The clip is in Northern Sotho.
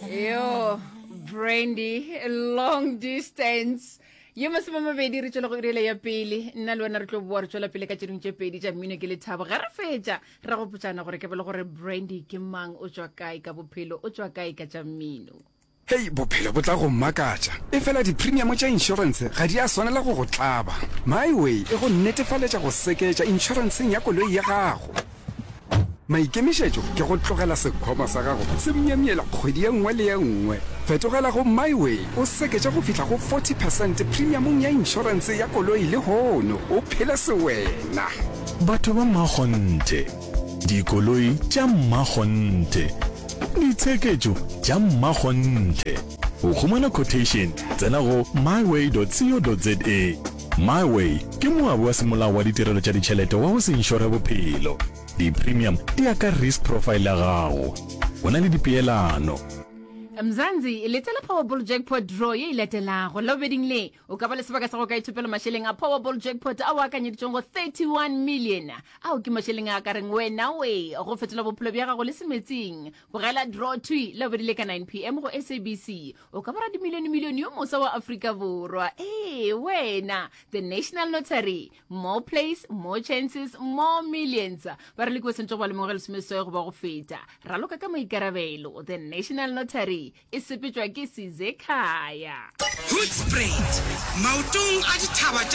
Yo, Brandy, long distance. Ye masomemabedi re tšwela go irela ya pele nna le wena re tlo boa re tšwela pele ka tše dingwe tše pedi tša mmino ke lethabo ge re fetša re gopotšana gore ke bele gore Brandy ke mang o tšwa kae ka bophelo o tšwa kae ka tša mmino. Hei, bophelo bo tla go makatša. Efela di-premium tša inšorense ga di a swanela go go tlaba. MiWay e go netefaletša go seketša inšorenseng ya koloi ya gago. Maikemišetšo ke go tlogela sekhwama sa gago se myemyela kgwedi ye nngwe le ye nngwe. Fetogela go MiWay o seketše go fihla go 40 percent premiumong ya inšorense ya koloi lehono o phele sewena. Batho ba mmakgonthe, dikoloi tša mmakgonthe, ditsheketšo tša mmakgonthe. Go humana quotation, tsena go myway.co.za. MiWay ke moabi wa semolao wa ditirelo tša ditšhelete wa go se inšore bophelo. Di-premium di ya ka risk profile ya gago. Go na le dipeelano. Mzansi, letela Powerball Jackpot Draw ye e latelago. Labobeding le, o ka ba le sebaka sa go ka ithopela mašeleng a Powerball Jackpot ao a akanyeditšweng go 31 million. Ao ke mašeleng a ka reng wena we go fetola bophelo bja gago le semetsing. Bogela draw thwi Labobedi le ka 9 pm go SABC. O ka ba radimilionemilione yo moswa wa Afrika Borwa. Ee, wena! The National Lottery. More plays, more chances, more millions. Ba re leki ba swanetše go ba le mengwaga e lesomeseswai goba go feta. Raloka ka maikarabelo. The National Lottery e sepetšwa ke Sizekhaya. Hoedspruit, maotong a dithaba tša.